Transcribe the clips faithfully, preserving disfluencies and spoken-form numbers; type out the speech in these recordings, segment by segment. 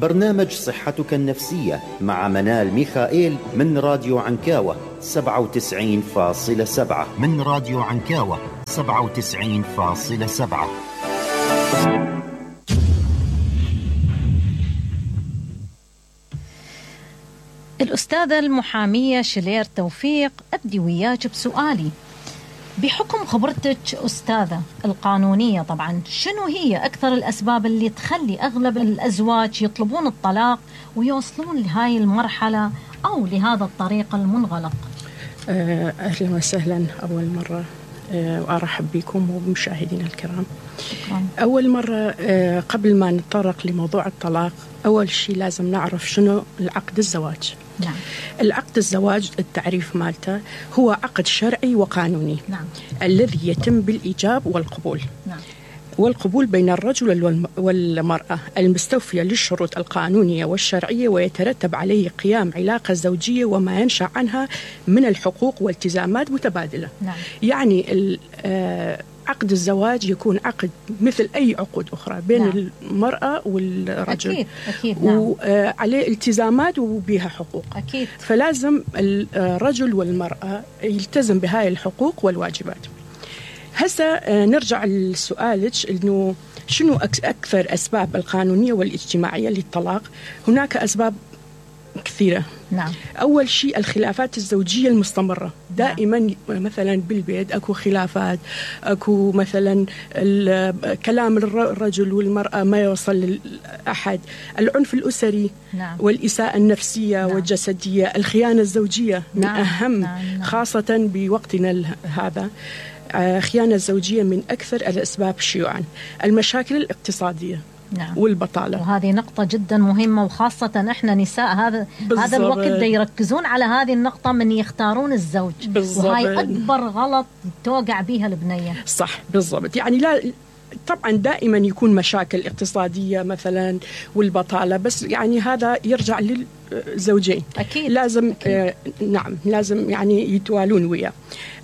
برنامج صحتك النفسية مع منال ميخائيل من راديو عنكاوة سبعة وتسعين فاصلة سبعة من راديو عنكاوة سبعة وتسعين فاصلة سبعة. الأستاذة المحامية شلير توفيق، أبدي وياك بسؤالي. بحكم خبرتك أستاذة القانونية طبعا، شنو هي أكثر الأسباب اللي تخلي أغلب الأزواج يطلبون الطلاق ويوصلون لهاي المرحلة أو لهذا الطريق المنغلق؟ أهلا وسهلا أول مرة، وأرحب بكم وبمشاهدينا الكرام. شكرا. أول مرة قبل ما نتطرق لموضوع الطلاق، أول شيء لازم نعرف شنو العقد الزواج. نعم. العقد الزواج التعريف مالته هو عقد شرعي وقانوني. نعم. الذي يتم بالإيجاب والقبول. نعم. والقبول بين الرجل والمرأة المستوفية للشروط القانونية والشرعية، ويترتب عليه قيام علاقة زوجية وما ينشأ عنها من الحقوق والتزامات متبادلة. نعم. يعني عقد الزواج يكون عقد مثل أي عقود أخرى بين نعم. المرأة والرجل. أكيد. أكيد. نعم. وعليه التزامات وبها حقوق. أكيد. فلازم الرجل والمرأة يلتزم بهاي الحقوق والواجبات. هسه نرجع لسؤالك إنه شنو أكثر أسباب القانونية والاجتماعية للطلاق. هناك أسباب كثيرة. نعم. أول شيء الخلافات الزوجية المستمرة. دائما نعم. مثلا بالبيت أكو خلافات، أكو مثلا كلام الرجل والمرأة ما يوصل لأحد، العنف الأسري. نعم. والإساءة النفسية. نعم. والجسدية، الخيانة الزوجية. نعم. من أهم. نعم. نعم. خاصة بوقتنا هذا، خيانة الزوجية من أكثر الأسباب شيوعا. المشاكل الاقتصادية. نعم. والبطالة، وهذه نقطة جدا مهمة، وخاصة احنا نساء هذا هذا الوقت دا يركزون على هذه النقطة من يختارون الزوج. بالضبط. وهي أكبر غلط توقع بها البنية. صح بالضبط. يعني لا طبعا دائما يكون مشاكل اقتصادية مثلا والبطالة، بس يعني هذا يرجع للزوجين. أكيد. لازم أكيد. آه نعم لازم يعني يتوالون وياه.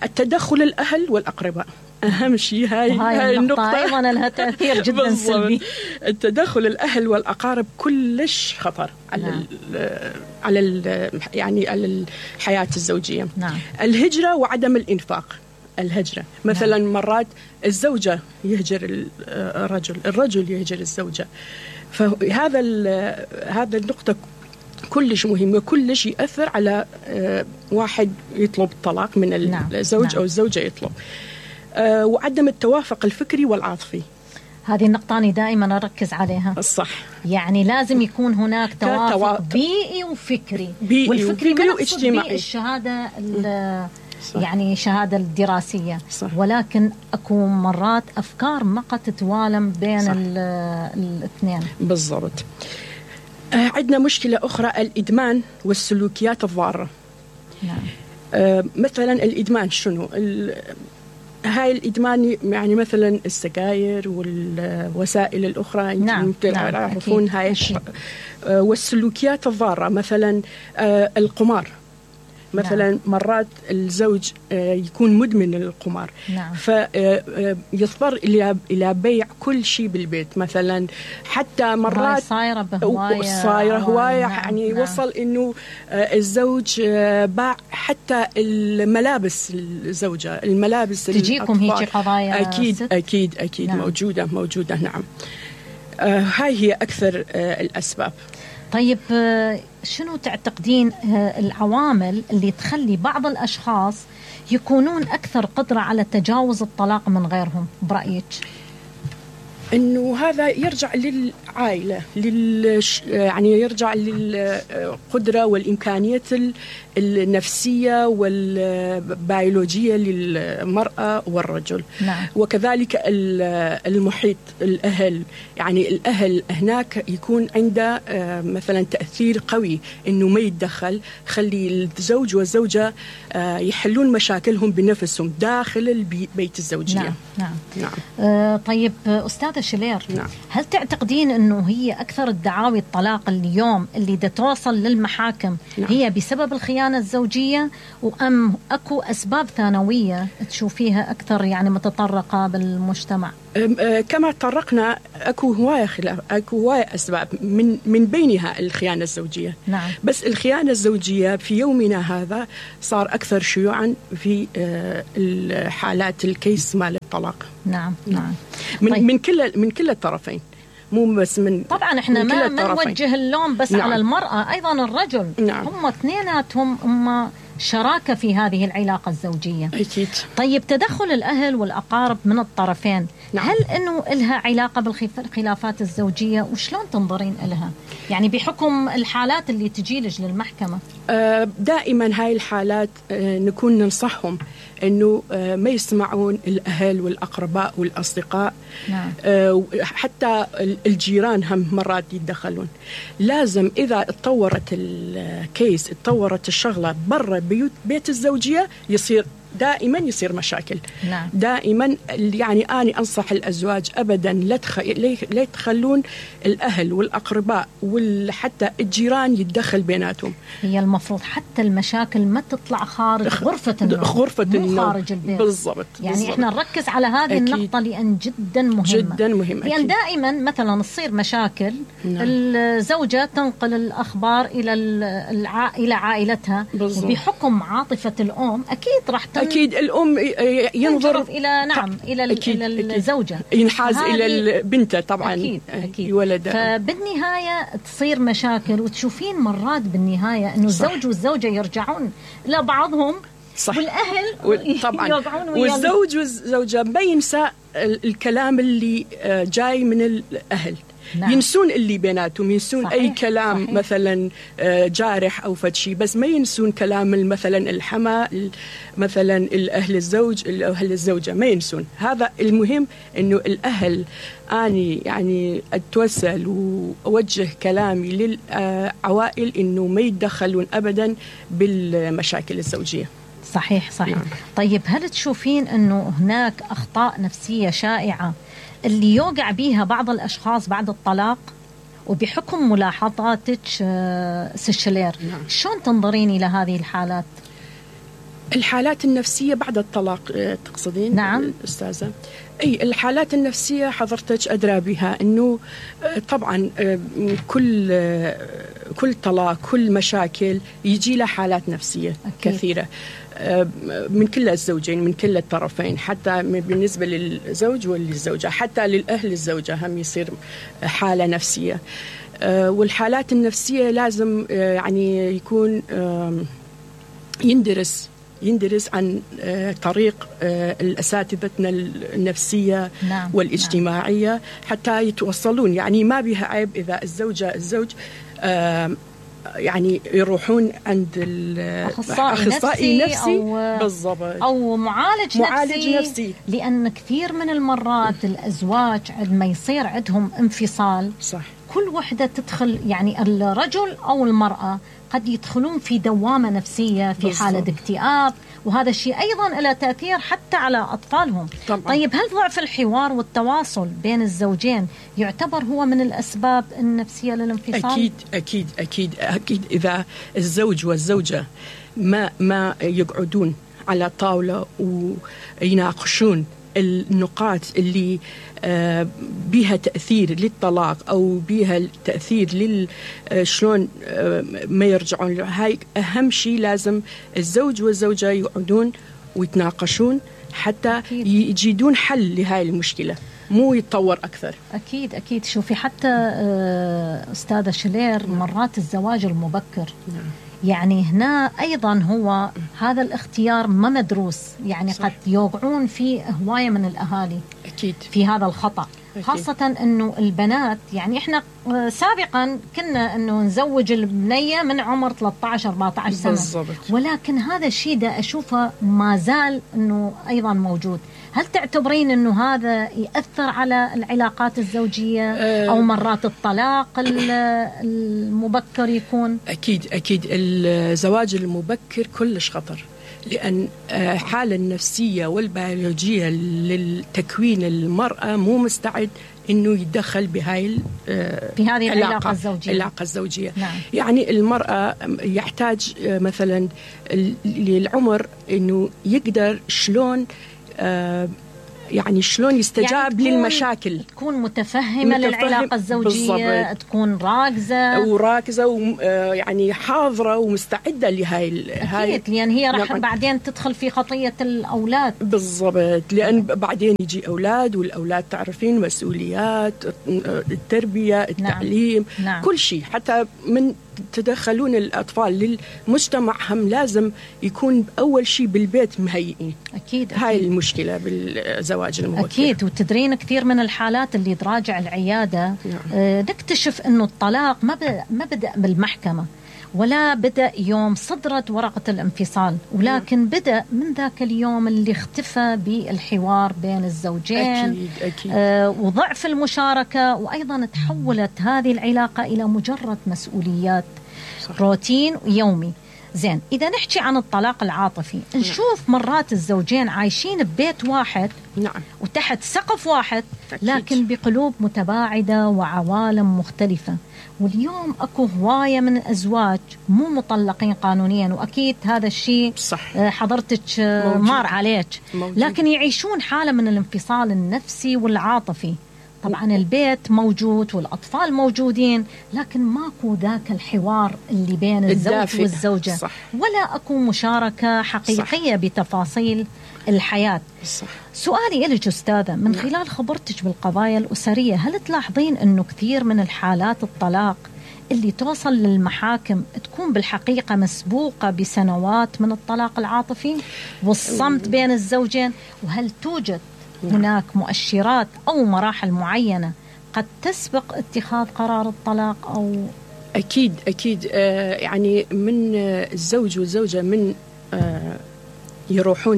التدخل الأهل والأقرباء أهم شيء. هاي, هاي النقطة أيضا لها تأثير جدا سلبي. التدخل الأهل والأقارب كلش خطر على نعم. ال على ال يعني على الحياة الزوجية. نعم. الهجرة وعدم الإنفاق. الهجرة مثلا نعم. مرات الزوجة يهجر الرجل، الرجل يهجر الزوجة. فهذا هذا النقطة كلش مهمة، كلش يأثر على واحد يطلب الطلاق من الزوج. نعم. أو الزوجة يطلب. وعدم التوافق الفكري والعاطفي. هذه النقطة أنا دائما أركز عليها. الصح. يعني لازم يكون هناك توافق بيئي وفكري. بيئي والفكري وفكري واجتماعي. الشهادة يعني شهادة الدراسية. صح. ولكن أكو مرات أفكار ما قد تتوالم بين الاثنين. بالضبط. آه عندنا مشكلة أخرى، الإدمان والسلوكيات الضارة. نعم. آه مثلا الإدمان شنو؟ هاي الإدمان يعني مثلا السجاير والوسائل الأخرى. نعم. تعرفون. نعم. هاي آه والسلوكيات الضارة مثلا آه القمار مثلا. نعم. مرات الزوج يكون مدمن القمار. نعم. فيضطر إلى إلى بيع كل شيء بالبيت مثلا، حتى مرات صايرة بهواية صايرة هواية. نعم. يعني نعم. وصل إنه الزوج باع حتى الملابس الزوجة، الملابس. تجيكم هيك قضايا؟ أكيد ست؟ أكيد أكيد. نعم. موجودة موجودة. نعم. هاي هي أكثر الأسباب. طيب شنو تعتقدين العوامل اللي تخلي بعض الأشخاص يكونون أكثر قدرة على تجاوز الطلاق من غيرهم برأيك؟ إنه هذا يرجع للعائلة، لل يعني يرجع للقدرة والإمكانيات النفسية والبيولوجية للمرأة والرجل. نعم. وكذلك المحيط، الأهل. يعني الأهل هناك يكون عنده مثلا تأثير قوي إنه ما يتدخل، خلي الزوج والزوجة يحلون مشاكلهم بنفسهم داخل البيت الزوجية. نعم. نعم. نعم. آه طيب أستاذة شلير. نعم. هل تعتقدين أنه هي أكثر الدعاوي الطلاق اليوم اللي دا توصل للمحاكم نعم. هي بسبب الخيانة الزوجية، وأم أكو أسباب ثانوية تشوفيها أكثر يعني متطرقة بالمجتمع؟ كما طرقنا اكو هوايه خلاف اكو هوايه اسباب من من بينها الخيانه الزوجيه. نعم. بس الخيانه الزوجيه في يومنا هذا صار اكثر شيوعا في الحالات الكيس مال الطلاق. نعم نعم. من طيب. من كل من كل الطرفين، مو بس من طبعا احنا من ما ما نوجه اللوم بس. نعم. على المراه، ايضا الرجل. نعم. هم اثنيناتهم هم شراكة في هذه العلاقة الزوجية. أكيد. طيب تدخل الأهل والأقارب من الطرفين. نعم. هل أنه لها علاقة بالخلافات الزوجية وشلون تنظرين لها؟ يعني بحكم الحالات اللي تجيلج للمحكمة. دائما هاي الحالات نكون ننصحهم أنه ما يسمعون الأهل والأقرباء والأصدقاء. نعم. حتى الجيران هم مرات يتدخلون. لازم إذا اتطورت الكيس اتطورت الشغلة برا بيوت بيت الزوجية يصير دائما يصير مشاكل. نعم. دائما يعني أنا أنصح الأزواج أبدا لا تخ... لا يتخلون الأهل والأقرباء وحتى الجيران يتدخل بيناتهم. هي المفروض حتى المشاكل ما تطلع خارج غرفة النوم، غرفة النوم خارج البيت. بالضبط. يعني بالزبط. احنا نركز على هذه أكيد. النقطة لأن جدا مهمة جدا مهمة. لأن يعني دائما مثلا تصير مشاكل. نعم. الزوجة تنقل الأخبار إلى الع... إلى عائلتها. بالضبط. وبحكم عاطفة الأم أكيد راح تن... أكيد الأم ينظر إلى نعم إلى أكيد. إلى الزوجة، ينحاز إلى البنت طبعا. أكيد أكيد. ولدها. فبالنهاية تصير مشاكل وتشوفين مرات بالنهاية إنه الزوج والزوجة يرجعون إلى بعضهم. صح. والأهل طبعا والزوج والزوجة ما ينسى الكلام اللي جاي من الأهل. نعم. ينسون اللي بيناتهم، ينسون صحيح. أي كلام صحيح. مثلا جارح أو فدشي، بس ما ينسون كلام مثلا الحما مثلا الأهل الزوج الأهل الزوجة ما ينسون. هذا المهم إنه الأهل أني يعني أتوسل وأوجه كلامي للعوائل إنه ما يتدخلون أبدا بالمشاكل الزوجية. صحيح صحيح. نعم. طيب هل تشوفين أنه هناك أخطاء نفسية شائعة اللي يوقع بيها بعض الأشخاص بعد الطلاق؟ وبحكم ملاحظاتك سيشلير. نعم. شلون تنظرين إلى هذه الحالات؟ الحالات النفسية بعد الطلاق تقصدين؟ نعم أستاذة. أي الحالات النفسية حضرتك أدرى بها أنه طبعا كل كل طلاق كل مشاكل يجي له حالات نفسية أكيد. كثيرة من كل الزوجين من كل الطرفين، حتى بالنسبة للزوج وللزوجة، حتى للأهل الزوجة هم يصير حالة نفسية. والحالات النفسية لازم يعني يكون يندرس يندرس عن طريق الأساتذتنا النفسية. نعم. والاجتماعية. نعم. حتى يتوصلون، يعني ما بها عيب إذا الزوجة الزوج يعني يروحون عند الأخصائي نفسي, نفسي أو, بالضبط. أو معالج, معالج نفسي, نفسي لأن كثير من المرات الأزواج عندما يصير عندهم انفصال صح. كل وحدة تدخل، يعني الرجل أو المرأة قد يدخلون في دوامة نفسية في بالضبط. حالة اكتئاب، وهذا الشيء أيضا له تأثير حتى على أطفالهم. طبعا. طيب هل ضعف الحوار والتواصل بين الزوجين يعتبر هو من الأسباب النفسية للانفصال؟ أكيد أكيد أكيد أكيد. إذا الزوج والزوجة ما ما يقعدون على طاولة ويناقشون النقاط اللي بها تأثير للطلاق أو بها تأثير لل شلون ما يرجعون، هاي أهم شيء. لازم الزوج والزوجة يقعدون ويتناقشون حتى أكيد. يجدون حل لهاي المشكلة، مو يتطور أكثر. أكيد أكيد. شوفي حتى أستاذة شلير مرات الزواج المبكر نعم. يعني هنا أيضا هو هذا الاختيار ما مدروس، يعني صح. قد يوقعون في هواية من الأهالي أكيد في هذا الخطأ. أكيد. خاصة أنه البنات، يعني إحنا سابقا كنا أنه نزوج البنية من عمر ثلاثة عشر أربعة عشر سنة بالضبط. ولكن هذا الشيء ده أشوفه ما زال أنه أيضا موجود. هل تعتبرين أنه هذا يأثر على العلاقات الزوجية أه أو مرات الطلاق المبكر يكون؟ أكيد أكيد. الزواج المبكر كلش خطر، لأن حالة النفسية والبيولوجية للتكوين المرأة مو مستعد إنه يتدخل بهاي في هذه العلاقة الزوجية. العلاقة الزوجية. نعم. يعني المرأة يحتاج مثلا للعمر إنه يقدر شلون يعني شلون يستجاب يعني للمشاكل، تكون متفهمة متفهم للعلاقة الزوجية بالضبط. تكون راكزة وراكزة ويعني حاضرة ومستعدة لهاي هاي أكيد، لأن هي راح نعم. بعدين تدخل في خطية الأولاد بالضبط، لأن بعدين يجي أولاد، والأولاد تعرفين مسؤوليات التربية التعليم نعم. نعم. كل شيء، حتى من تدخلون الأطفال للمجتمع هم لازم يكون أول شيء بالبيت مهيئين. أكيد, أكيد. هاي المشكلة بالزواج المبكر. أكيد. وتدرين كثير من الحالات اللي تراجع العيادة نعم. آه نكتشف أنه الطلاق ما ما بدأ بالمحكمة ولا بدأ يوم صدرت ورقة الانفصال، ولكن نعم. بدأ من ذاك اليوم اللي اختفى بالحوار بين الزوجين. أكيد. أكيد. آه وضعف المشاركة، وأيضا تحولت هذه العلاقة إلى مجرد مسؤوليات صح. روتين يومي. زين، إذا نحكي عن الطلاق العاطفي نشوف مرات الزوجين عايشين ببيت واحد نعم. وتحت سقف واحد أكيد. لكن بقلوب متباعدة وعوالم مختلفة. واليوم أكو هواية من الأزواج مو مطلقين قانونيا، وأكيد هذا الشيء صح. حضرتك مار عليك موجود. لكن يعيشون حالة من الانفصال النفسي والعاطفي. طبعا البيت موجود والأطفال موجودين، لكن ماكو ذاك الحوار اللي بين الزوج الدافئ. والزوجة صح. ولا أكو مشاركة حقيقية صح. بتفاصيل الحياة صح. سؤالي إليك أستاذة، من خلال خبرتك بالقضايا الأسرية، هل تلاحظين أنه كثير من الحالات الطلاق اللي توصل للمحاكم تكون بالحقيقة مسبوقة بسنوات من الطلاق العاطفي والصمت بين الزوجين؟ وهل توجد هناك مؤشرات أو مراحل معينة قد تسبق اتخاذ قرار الطلاق؟ أو أكيد أكيد آه يعني من الزوج والزوجة من آه يروحون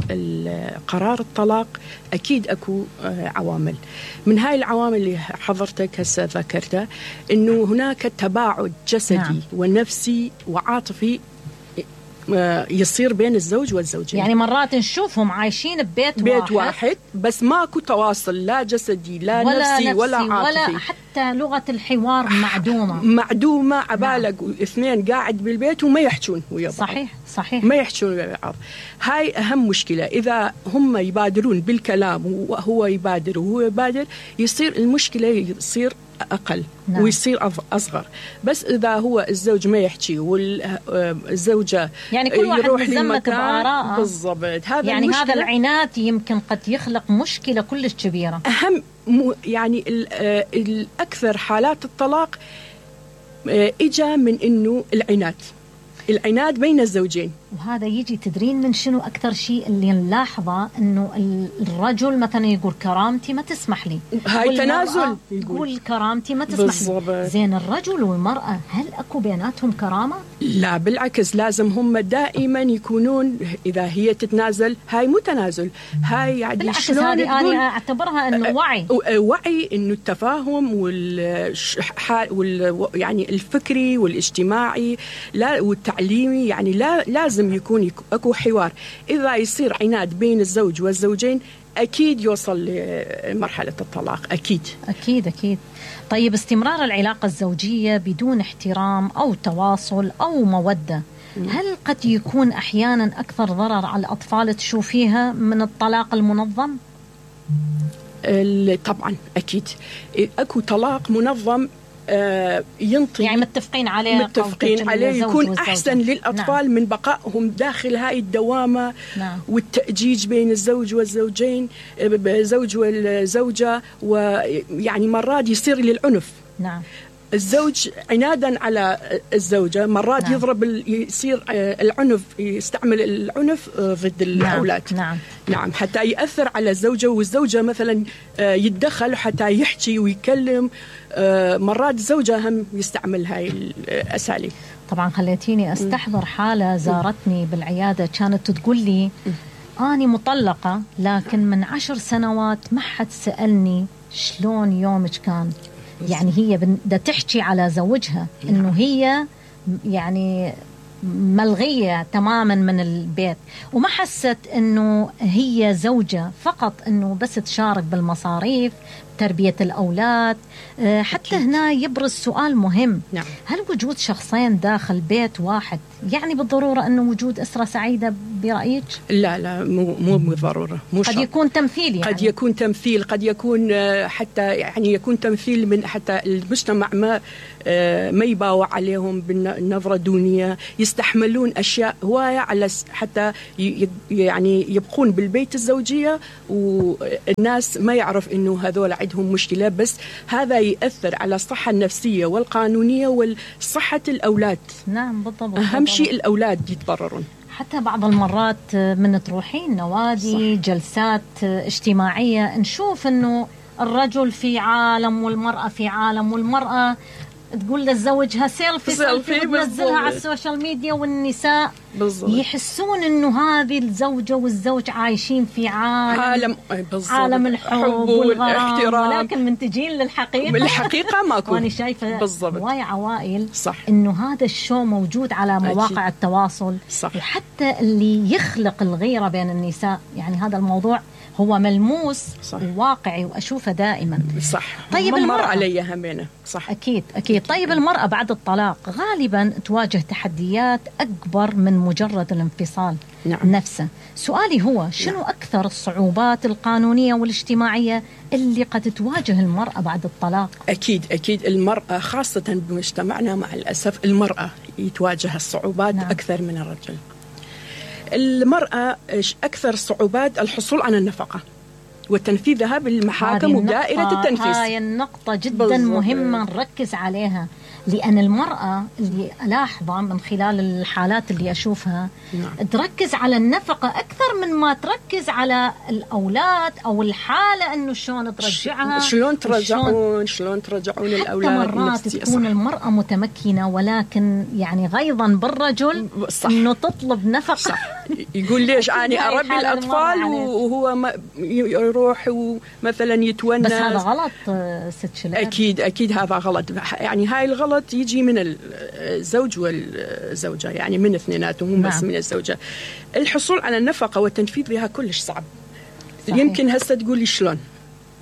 لقرار الطلاق أكيد أكو آه عوامل. من هاي العوامل اللي حضرتك هسه ذكرتها، إنه هناك تباعد جسدي نعم. ونفسي وعاطفي يصير بين الزوج والزوجين. يعني مرات نشوفهم عايشين ببيت بيت واحد, واحد بس ماكو تواصل، لا جسدي لا ولا نفسي, نفسي ولا عاطفي، ولا حتى لغة الحوار معدومة معدومة عبالك نعم. اثنين قاعد بالبيت وما يحجون ويا بعض. صحيح صحيح ما يحجون ويا بعض. هاي أهم مشكلة. إذا هم يبادرون بالكلام وهو يبادر وهو يبادر يصير المشكلة يصير أقل نعم. ويصير أصغر. بس إذا هو الزوج ما يحكي والزوجة يعني كل واحد مزمت بآراءه بالضبط، هذا يعني هذا العناد يمكن قد يخلق مشكلة كلش كبيرة. أهم يعني الأكثر حالات الطلاق إجا من إنه العناد العناد بين الزوجين. وهذا يجي تدرين من شنو أكثر شيء اللي نلاحظه، إنه الرجل مثلا يقول كرامتي ما تسمح لي، هاي تنازل، يقول كرامتي ما تسمح بالزبط. لي. زين الرجل والمرأة هل أكو بيناتهم كرامة؟ لا بالعكس، لازم هم دائما يكونون، إذا هي تتنازل هاي مو تنازل، هاي يعني بالعكس هذه أنا أعتبرها إنه وعي وعي إنه التفاهم وال وال يعني الفكري والاجتماعي لا والتعليمي، يعني لا لازم يكون أكو حوار. إذا يصير عناد بين الزوج والزوجين أكيد يوصل لمرحلة الطلاق. أكيد أكيد أكيد. طيب استمرار العلاقة الزوجية بدون احترام أو تواصل أو مودة، هل قد يكون أحيانا أكثر ضرر على الأطفال تشوفيها من الطلاق المنظم؟ طبعا أكيد. أكو طلاق منظم آه ينطي يعني متفقين عليه متفقين عليه يكون أحسن للأطفال نعم. من بقائهم داخل هاي الدوامة نعم. والتأجيج بين الزوج والزوجين، زوج والزوجة، ويعني مرات يصير للعنف نعم. الزوج عنادا على الزوجة مرات نعم. يضرب يصير العنف، يستعمل العنف ضد الأولاد نعم. نعم. نعم حتى يأثر على الزوجة، والزوجة مثلا يتدخل حتى يحكي ويكلم. مرات الزوجة هم يستعمل هاي الأساليب. طبعا خليتيني أستحضر حالة زارتني بالعيادة، كانت تقول لي أنا مطلقة لكن من عشر سنوات ما حد سألني شلون يومك كان. يعني هي بدها تحكي على زوجها إنه هي يعني ملغية تماما من البيت، وما حست إنه هي زوجة فقط إنه بس تشارك بالمصاريف تربية الأولاد. حتى أكيد. هنا يبرز سؤال مهم. نعم. هل وجود شخصين داخل بيت واحد يعني بالضرورة أنه وجود أسرة سعيدة برأيك؟ لا لا مو مو بالضرورة. مو قد يكون تمثيل يعني. قد يكون تمثيل، قد يكون حتى يعني يكون تمثيل من حتى المجتمع ما ما يباوع عليهم بالنظرة الدونية، يستحملون أشياء هواية على حتى يعني يبقون بالبيت الزوجية والناس ما يعرف إنه هذول عندهم مشكلة، بس هذا يأثر على الصحة النفسية والقانونية والصحة الأولاد. نعم بالضبط. أهم شيء الأولاد يتضررون. حتى بعض المرات من تروحين نوادي، صح. جلسات اجتماعية، نشوف إنه الرجل في عالم والمرأة في عالم، والمرأة تقول لزوجها سيلفي سيلفي وتنزلها على السوشيال ميديا، والنساء بالضبط. يحسون إنه هذه الزوجة والزوج عايشين في عالم عالم, عالم الحب والغرام، ولكن من تجين للحقيقة بالحقيقة ماكو. وأنا شايفة هواي عوائل صح. إنه هذا الشو موجود على مواقع أكيد. التواصل صح. وحتى اللي يخلق الغيرة بين النساء، يعني هذا الموضوع هو ملموس صح. وواقعي وأشوفه دائما صح. طيب مر علي همينة صح. أكيد أكيد. طيب المرأة بعد الطلاق غالبا تواجه تحديات أكبر من مجرد الانفصال نعم. نفسه. سؤالي هو شنو نعم. أكثر الصعوبات القانونية والاجتماعية اللي قد تواجه المرأة بعد الطلاق؟ أكيد أكيد المرأة خاصة بمجتمعنا مع الأسف المرأة يتواجه الصعوبات نعم. أكثر من الرجل. المرأة أكثر صعوبات الحصول على النفقة وتنفيذها بالمحاكم ودائرة التنفيذ. هاي النقطة جدا بالضبط. مهمة نركز عليها، لأن المرأة اللي ألاحظها من خلال الحالات اللي أشوفها نعم. تركز على النفقة أكثر من ما تركز على الأولاد أو الحالة إنه شلون ترجعها، شلون ترجعون شلون ترجعون الأولاد. حتى مرات تكون صح. المرأة متمكنة ولكن يعني غيظا بالرجل صح. إنه تطلب نفقة صح. يقول ليش أنا أربي الأطفال وهو ما يروح ومثلا يتونس. بس هذا غلط ست شلال. أكيد أكيد هذا غلط، يعني هاي الغلط يجي من الزوج والزوجة، يعني من اثنيناتهم مو بس من الزوجة. الحصول على النفقة والتنفيذ بها كلش صعب صحيح. يمكن هسه تقولي شلون؟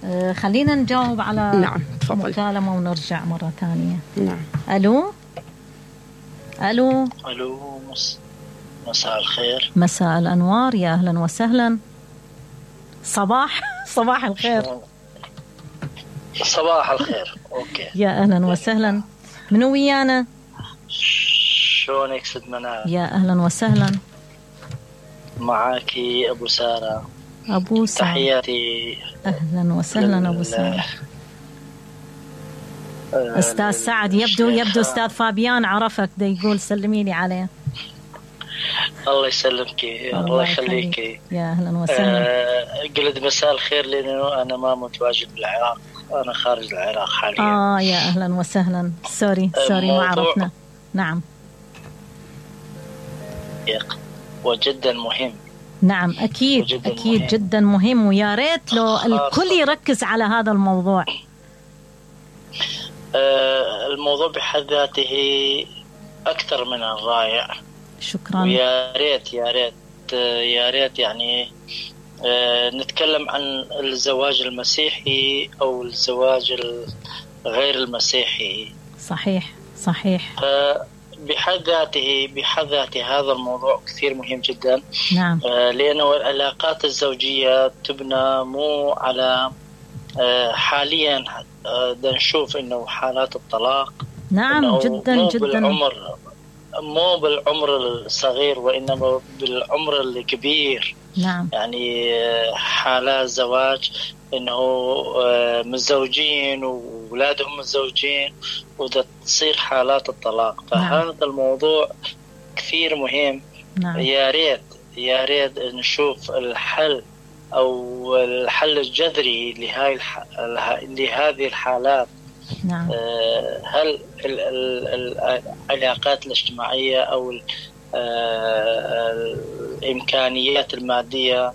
آه خلينا نجاوب على نعم تفضل. مكالمة ونرجع مرة ثانية. نعم. ألو ألو ألو مساء الخير. مساء الأنوار، يا أهلا وسهلا. صباح صباح الخير. صباح الخير. أوكي يا أهلا وسهلا. منو ويانا؟ شلونك ست منال؟ يا أهلا وسهلا. معاكي أبو سارة. أبو سارة تحياتي. أهلا وسهلا أبو سارة. أستاذ سعد يبدو يبدو أستاذ فابيان عرفك، ده يقول سلمي لي عليه. الله يسلمك الله يخليك. يا أهلا وسهلا. أه قلت مساء الخير لأنه أنا ما متواجد بالعراق، أنا خارج العراق حاليا. آه يا أهلا وسهلا. سوري سوري ما عرفنا. نعم. وجدا مهم. نعم أكيد جداً أكيد مهم. جدا مهم، ويا ريت لو الكل يركز على هذا الموضوع. آه الموضوع بحد ذاته أكثر من الرائع. شكرا. ويا ريت يا ريت يا ريت يعني آه نتكلم عن الزواج المسيحي أو الزواج غير المسيحي. صحيح صحيح. آه بحد ذاته بحد ذاته هذا الموضوع كثير مهم جدا. نعم. آه لأنه العلاقات الزوجية تبنى مو على آه حاليا آه نشوف إنه حالات الطلاق. نعم جدا مو جدا. بالعمر مو بالعمر الصغير وإنما بالعمر الكبير. نعم. يعني حالات زواج إنه متزوجين وأولادهم متزوجين وده تصير حالات الطلاق. فهذا نعم. الموضوع كثير مهم. نعم. يا ريت يا ريت نشوف الحل أو الحل الجذري لهاي الح... لهذه الحالات. نعم. هل العلاقات الاجتماعية أو الإمكانيات المادية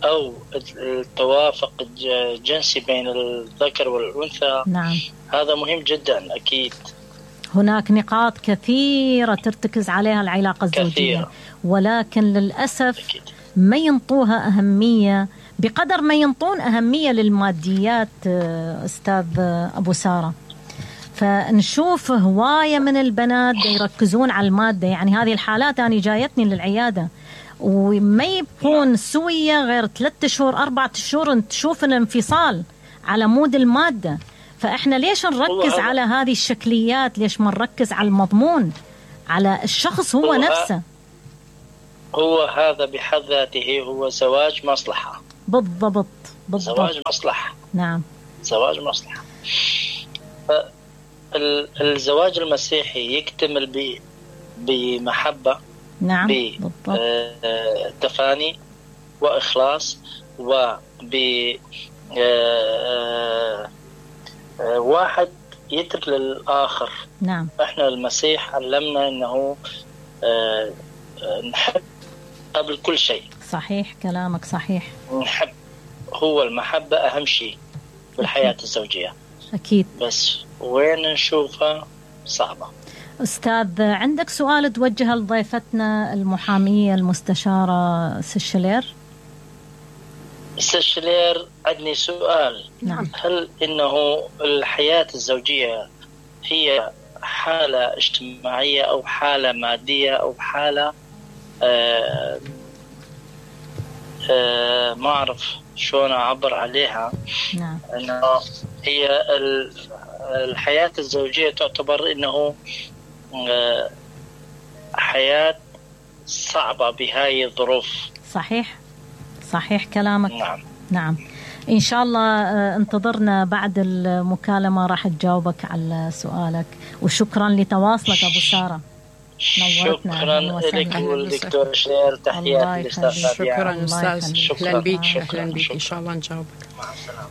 أو التوافق الجنسي بين الذكر والأنثى. نعم. هذا مهم جدا أكيد. هناك نقاط كثيرة ترتكز عليها العلاقة الزوجية كثيرة. ولكن للأسف أكيد. ما ينطوها أهمية بقدر ما ينطون أهمية للماديات أستاذ أبو سارة. فنشوف هواية من البنات يركزون على المادة. يعني هذه الحالات أنا جايتني للعيادة وما يبقون سوية غير ثلاثة شهور أربعة شهور تشوف الانفصال على مود المادة. فإحنا ليش نركز على هذه الشكليات؟ ليش ما نركز على المضمون، على الشخص هو, هو نفسه؟ هو هذا بحد ذاته هو زواج مصلحة. بالضبط بالضبط. زواج مصلحة. نعم زواج مصلحة. الزواج المسيحي يكتمل بمحبة، نعم، بتفاني وإخلاص وب واحد يترك للآخر. نعم. احنا المسيح علمنا انه نحب قبل كل شيء. صحيح كلامك صحيح. نحب، هو المحبة أهم شيء بالحياة الزوجية. أكيد. بس وين نشوفها صعبة. أستاذ عندك سؤال توجهه لضيفتنا المحامية المستشارة سيشلير؟ سيشلير عندي سؤال. نعم. هل إنه الحياة الزوجية هي حالة اجتماعية أو حالة مادية أو حالة آه آه ما أعرف شلون أعبر عليها؟ نعم. إنه هي الحياة الزوجية تعتبر إنه آه حياة صعبة بهاي الظروف. صحيح صحيح كلامك. نعم. نعم إن شاء الله انتظرنا بعد المكالمة راح تجاوبك على سؤالك. وشكرا لتواصلك أبو سارة، نورتنا. شكرا لك والدكتور شلير، تحياتي للأستاذ. شكرا أستاذ، أهلا بك. أهلا بك إن شاء الله نجاوبك. مع السلامة.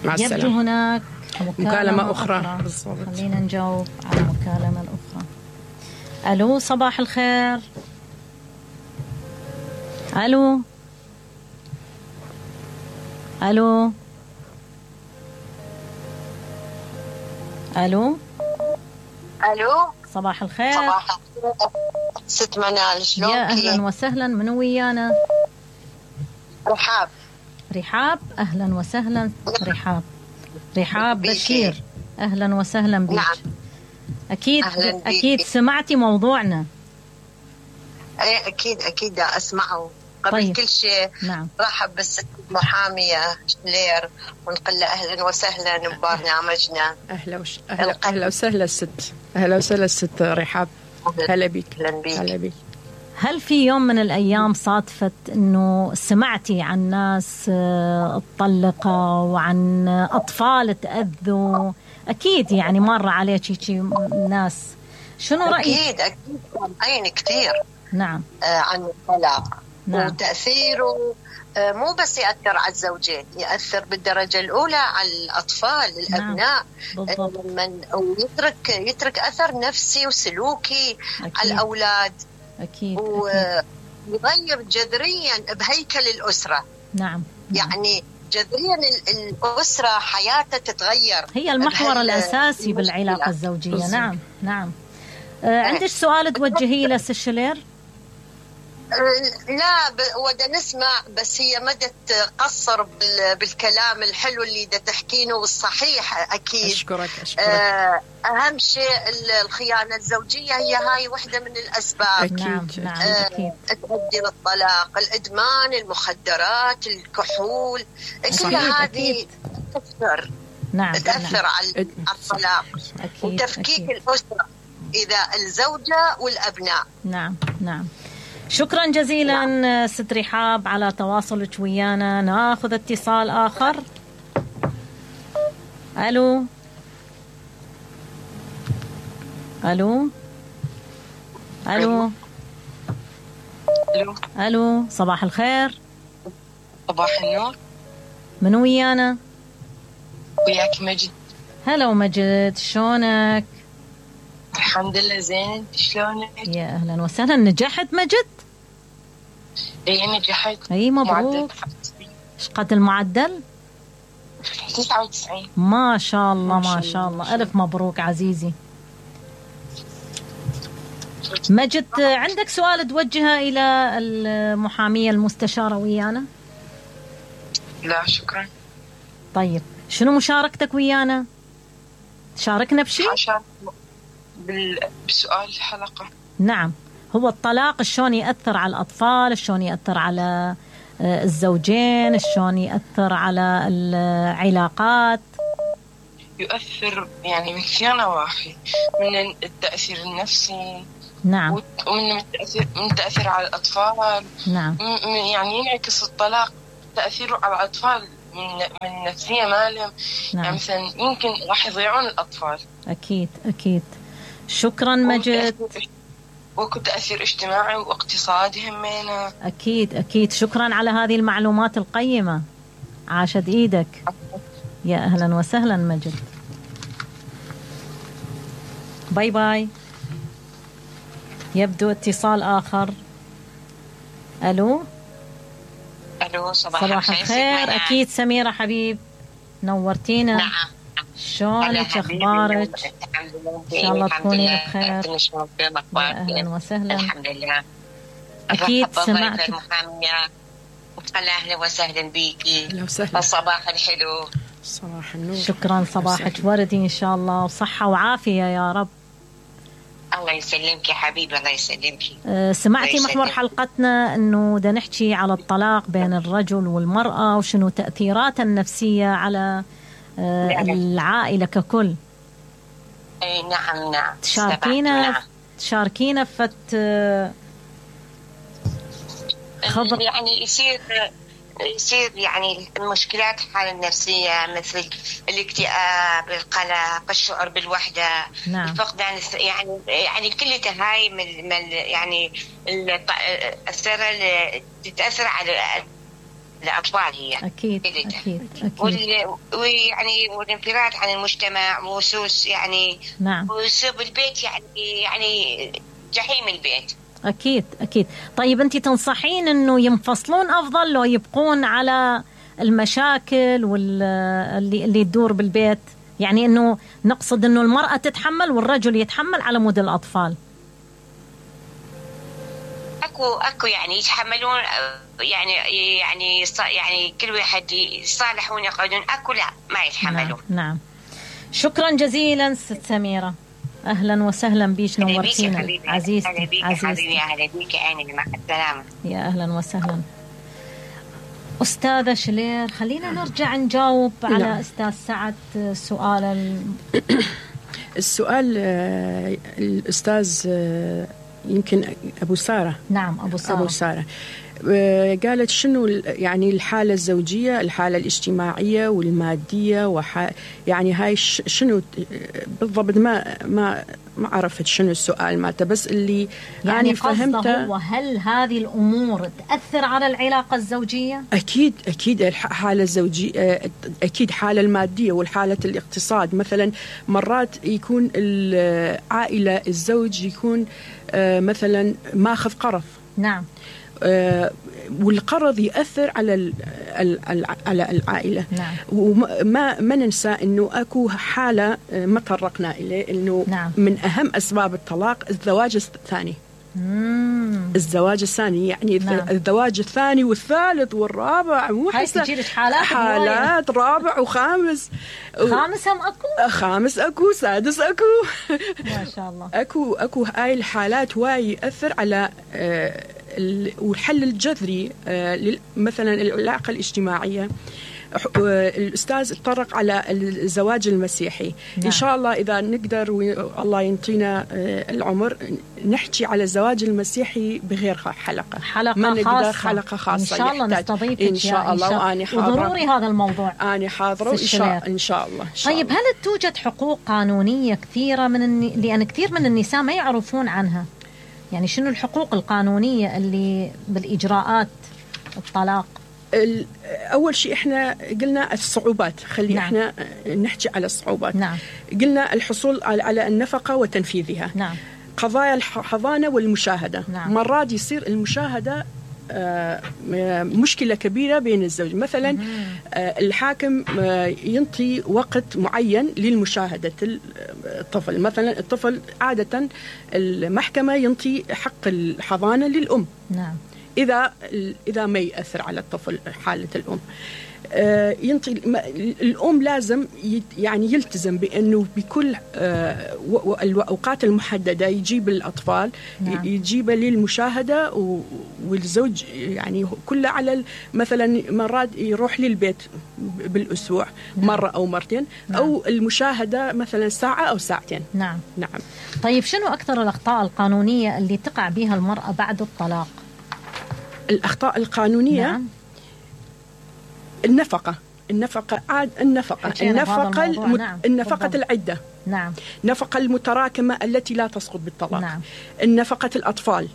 مع السلامة. يبدو هناك مكالمة, مكالمة أخرى, أخرى. بالضبط. خلينا نجاوب على المكالمة الأخرى. ألو صباح الخير. ألو ألو ألو ألو صباح الخير. صباح الخير ست منال، شلونك؟ يا أهلا وسهلا، من ويانا؟ رحاب. رحاب، أهلا وسهلا رحاب. رحاب بشير، أهلا وسهلا بك. نعم. أكيد أكيد سمعتي موضوعنا. أي أكيد أكيد أسمعه. قبل طيب. كل شيء نعم. رحب بالست المحامية شلير ونقول له أهلا وسهلا ببرنامجنا. أهلا وش... أهلا, أهلا وسهلا الست، أهلا وسهلا الست رحاب. هلا بك. هلا بك. هل في يوم من الأيام صادفت أنه سمعتي عن ناس اتطلقوا وعن أطفال تأذوا؟ أكيد يعني مر عليك شي ناس، شنو رأيك؟ أكيد أكيد عين كثير. نعم. آه عن الطلاق. نعم. وتأثيره آه مو بس يأثر على الزوجين، يأثر بالدرجة الأولى على الأطفال الأبناء. بالضبط. آه من ويترك يترك أثر نفسي وسلوكي أكيد على الأولاد. أكيد. ويغير جذريا بهيكل الأسرة. نعم. يعني جذريا الأسرة حياتها تتغير، هي المحور الأساسي بالعلاقة الزوجية. بالزبط. نعم نعم. آه عندك سؤال توجهيه لسيشلير؟ لا ودا نسمع، بس هي مدى تقصر بالكلام الحلو اللي دا تحكينه والصحيح. أكيد. أشكرك أشكرك. أهم شيء الخيانة الزوجية هي هاي واحدة من الأسباب. أكيد. نعم. نعم. أكيد. تؤدي للطلاق، الإدمان، المخدرات، الكحول، كل هذه تأثر. نعم. تأثر نعم. على الطلاق وتفكيك الأسرة إذا الزوجة والأبناء. نعم نعم. شكرا جزيلا. نعم. ست رحاب على تواصلك ويانا. ناخذ اتصال آخر. ألو ألو ألو ألو ألو صباح الخير. صباح النور. من ويانا؟ وياك مجد. هلا ومجد، شلونك؟ الحمد لله زين، شلونك؟ يا أهلا وسهلا. نجحت مجد؟ اي نجحت. اي مبروك. ايش قد المعدل؟ تسعة وتسعين. ما شاء الله ما شاء الله، ألف مبروك عزيزي. مجد عندك سؤال توجهه إلى المحامية المستشارة ويانا؟ لا شكرا. طيب شنو مشاركتك ويانا؟ شاركنا بشيء؟ عشان بسؤال الحلقة. نعم، هو الطلاق شلون يأثر على الأطفال، شلون يأثر على الزوجين، شلون يأثر على العلاقات؟ يؤثر يعني من كثير نواحي، من التأثير النفسي. نعم. ومن التأثير من التأثير على الأطفال. نعم. يعني ينعكس الطلاق تأثيره على الأطفال من من النفسية مالهم. نعم. يعني مثلا يمكن راح يضيعون الأطفال. أكيد أكيد. شكرا مجد. وكل تأثير اجتماعي واقتصادي همينة. أكيد أكيد. شكرا على هذه المعلومات القيمة، عاشت إيدك. يا أهلا وسهلا مجد. باي باي. يبدو اتصال آخر. ألو. ألو صباح, صباح الخير. أكيد سميرة حبيب، نورتينا. نعم. شلونك؟ أخبارك؟ إن شاء الله تكوني بخير. يا أهلا وسهلا. الحمد لله. أكيد سمعت. أهلا وسهلا بيكي. أهلا وسهلا. الصباح الحلو. صباح النور. شكرا، صباحك وردي إن شاء الله، وصحة وعافية يا رب. الله يسلمك يا حبيبي، الله يسلمك. أه سمعتي الله محور يسلمك. حلقتنا أنه دا نحكي على الطلاق بين الرجل والمرأة وشنو تأثيراته النفسية على أه نعم. العائلة ككل. اي نعم نعم. تشاركينا نعم. تشاركينا فت أه خبر. يعني يصير يصير يعني المشكلات الحالة النفسية مثل الاكتئاب، القلق، الشعور بالوحدة. نعم. الفقدان، يعني يعني كل هاي من من يعني الأثر تتأثر على الأطفال هي. أكيد أكيد أكيد. ويعني والانفراد عن المجتمع وسوس يعني. نعم. وسوس البيت يعني يعني جحيم البيت. أكيد أكيد. طيب أنت تنصحين أنه ينفصلون أفضل لو يبقون على المشاكل واللي اللي تدور بالبيت؟ يعني أنه نقصد أنه المرأة تتحمل والرجل يتحمل على مود الأطفال. أكو أكو يعني يتحملون، يعني يعني يعني كل واحد يصالحون يقعدون. أكو لا ما يتحملون. نعم, نعم. شكرا جزيلا ست سميرة، أهلا وسهلا بيش، نورتينا عزيزتي عزيزتي. أهلا بيك عيني، مع السلامة. يا أهلا وسهلا. أستاذة شلير، خلينا نرجع نجاوب على نعم. أستاذ سعد سؤال ال... السؤال الأستاذ يمكن أبو سارة. نعم أبو سارة. أبو سارة قالت شنو يعني الحالة الزوجية، الحالة الاجتماعية والمادية، وح يعني هاي شنو بالضبط؟ ما ما ما عرفت شنو السؤال مالته، بس اللي يعني فهمته هو هل هذه الأمور تأثر على العلاقة الزوجية؟ أكيد أكيد. الحالة الزوجية أكيد، حالة المادية والحالة الاقتصاد. مثلا مرات يكون العائلة الزوج يكون مثلا ماخذ قرض. نعم. آه والقرض يأثر على ال ال على العائلة. نعم. وما ما ننسى إنه أكو حالة ما طرقنا إليه، إنه نعم. من أهم أسباب الطلاق الزواج الثاني. مم. الزواج الثاني يعني نعم. الزواج الثاني والثالث والرابع، مو هاي تجيلك حالات حالات رابع وخامس. خامس هم أكو؟ خامس أكو، سادس أكو. ما شاء الله. أكو أكو هاي الحالات واي يأثر على آه والحل الجذري آه مثلا العلاقة الاجتماعية. الأستاذ اتطرق على الزواج المسيحي. نعم. إن شاء الله إذا نقدر والله ينطينا العمر نحكي على الزواج المسيحي بغير حلقة حلقة ما نقدر خاصة. حلقة خاصة إن شاء الله نستضيفك إن شاء الله. وأنا حاضرة، وضروري هذا الموضوع أنا حاضرة إن شاء إن شاء الله. طيب الله. هل توجد حقوق قانونية كثيرة من الن... لأن كثير من النساء ما يعرفون عنها؟ يعني شنو الحقوق القانونية اللي بالإجراءات الطلاق؟ أول شيء إحنا قلنا الصعوبات، خلي نعم. إحنا نحكي على الصعوبات. نعم. قلنا الحصول على النفقة وتنفيذها. نعم. قضايا الحضانة والمشاهدة. نعم. مرات يصير المشاهدة مشكلة كبيرة بين الزوج. مثلا الحاكم ينطي وقت معين للمشاهدة الطفل. مثلا الطفل عادة المحكمة ينطي حق الحضانة للأم. نعم. إذا إذا ما يأثر على الطفل حالة الأم. ينطي الأم لازم يعني يلتزم بأنه بكل الأوقات المحددة يجيب الأطفال، نعم. يجيب للمشاهدة، والزوج يعني كله على مثلا مرات يروح للبيت بالأسبوع، نعم. مرة أو مرتين، نعم. أو المشاهدة مثلا ساعة أو ساعتين. نعم. نعم. طيب شنو أكثر الأخطاء القانونية اللي تقع بها المرأة بعد الطلاق؟ الأخطاء القانونية، نعم. النفقة النفقة عاد النفقة النفقة الم... نعم. النفقة بالضبط. العدة، نعم. نفقة المتراكمة التي لا تسقط بالطلاق، نعم. النفقة الأطفال،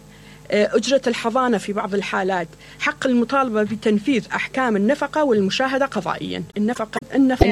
أجرة الحضانة في بعض الحالات، حق المطالبة بتنفيذ أحكام النفقة والمشاهدة قضائيا. النفقة النفقة